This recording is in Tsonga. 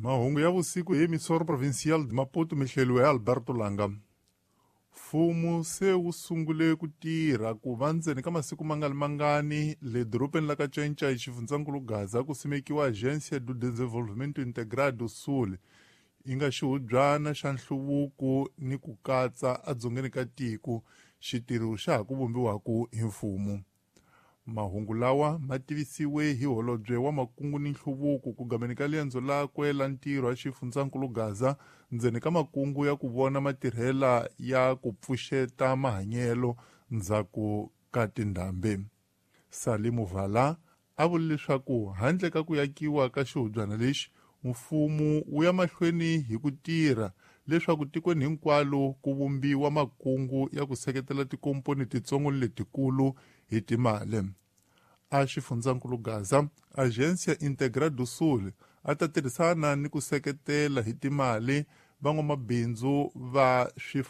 Mahungu ya vusiku hi Emissora Provincial de Maputo mi hleliwe hi Alberto Langa. Mfumo se wu sungule ku tirha ku va ndzeni ka masiku ma nga ri mangani le dorobeni la ka Cinca xifundzankulu Gaza ku simekiwa Agência do Desenvolvimento Integrado do Sul yi nga xihubyana xa nhluvuko ni ku katsa edzongeni ka tiko xitirho xa ha ku vumbiwaka hi mfumo. Mahungu lawa ma tivisiwe hi holobye wa makungu ni nhluvuko ku gameni ka liendzo lakwe la ntirho a xifundzankulu Gaza ndzeni ka makungu ya ku vona matirhela ya ku pfuxeta mahanyelo ndzhaku ka tindhambi. Salimu Vala a vule leswaku handle ka ku yakiwa ka xihubyana lexi mfumo wu ya mahlweni hi ku tirha leswaku tikweni hinkwalo ku vumbiwa makungu ya ku seketela tikomponi titsongo ni letikulu hi timali. A xifundzankulu Gaza, Agência Integra do Sul a ta tirhisana ni ku seketela hi timali van'wamabindzu va